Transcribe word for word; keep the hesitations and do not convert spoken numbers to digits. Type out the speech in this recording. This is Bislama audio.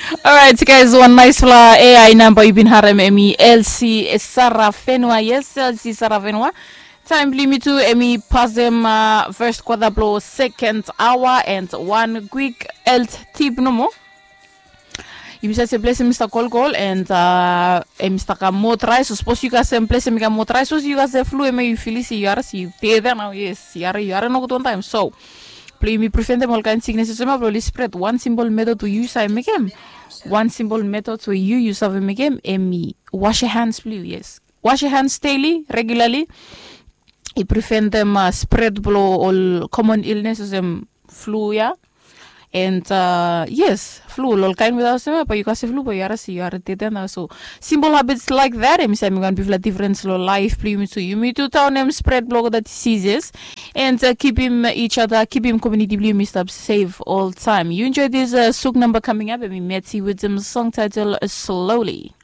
Alright, guys, wan naispela A I namba yu bin harem, em i L C Sarafenua. Yes, L C Sarafenua. Taim bilong yumi tu em i pasem first quarter bilong second hour and one quick health tip nomo. Yumi save se ples em i stap kolkol and em i stap kam motorais. Sapos yu kasem ples em i kam motorais, sapos yu kasem flu em yu fili se yu haras yu dede nau. Yes, yu haras yu haras nogut wantaim. So bilong yumi preventem ol kain siknes olsem ya bilong oli spret. Wan simbol metot we yu save mekem, wan simbol metot we yu yu save mekem em i wash your hands bilong yu. Yes, wash your hands daily, regularly. I preventem spret bilong ol common illness olsem flu ya. And yes, flu ol kain weta olsem ya bai yu kasem flu bai yu haras yu haras dede nau. So simple habits like that em i save mekim wan bikpela difference long laif bilong yumi tu. Yumi tu taunim spret bilong olgeta diseases and kipim each other, kipim community bilong yumi stap safe all time. You enjoy this suk number coming up, em i Metsi with some song title Slowly.